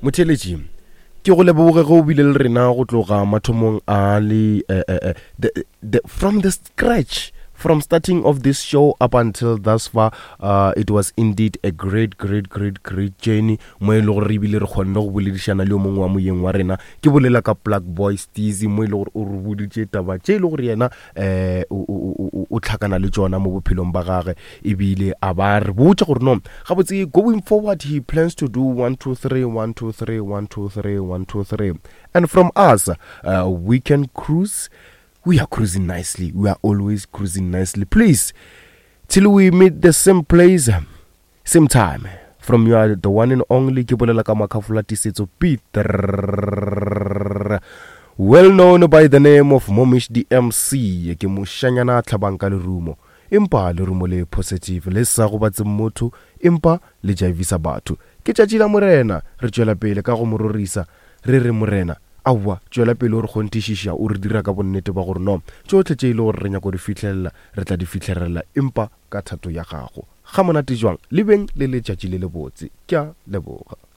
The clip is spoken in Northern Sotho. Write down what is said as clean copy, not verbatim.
Motheeletši, ke go leboge ge o bile le rena go tloga mathomong a le eh, eh, eh, the, the, from the scratch from starting of this show up until thus far uh, it was indeed a great great great great journey mo e le gore re ebile re kgonne go boledišana le yo mongwe wa moyeng wa rena ke bolela ka plug boy steezy mo e le gore o re boditše taba tše e le gore yena um o tlhakana le tšona mo bophelong ba gage ebile a ba re botša gore no gabotse going forward he plans to do 1 2 3 1 2 3 1 2 3 1 2 3 and from us uh, we can cruise we are cruising nicely we are always cruising nicely please till we meet the same place same time from your the one and only ke bolela ka makhafola tisetso peter well known by the name of momish the mc ke moshanyana a tlhabang ka lerumo empa lerumo le positive le sa gobatseng motho empa le jaivisa batho ke tšatši la morena re tšwela pele ka go mo rorisa re re morena aowa tšwela pele o re kgonthišiša o re dira ka bonnete ba gore no tšohle tše e le gore re nyako di fihlelela re tla di fihlelela empa ka thato ya gago. Ga monate jwang, le beng le letšatši le lebotse. Ke a leboga.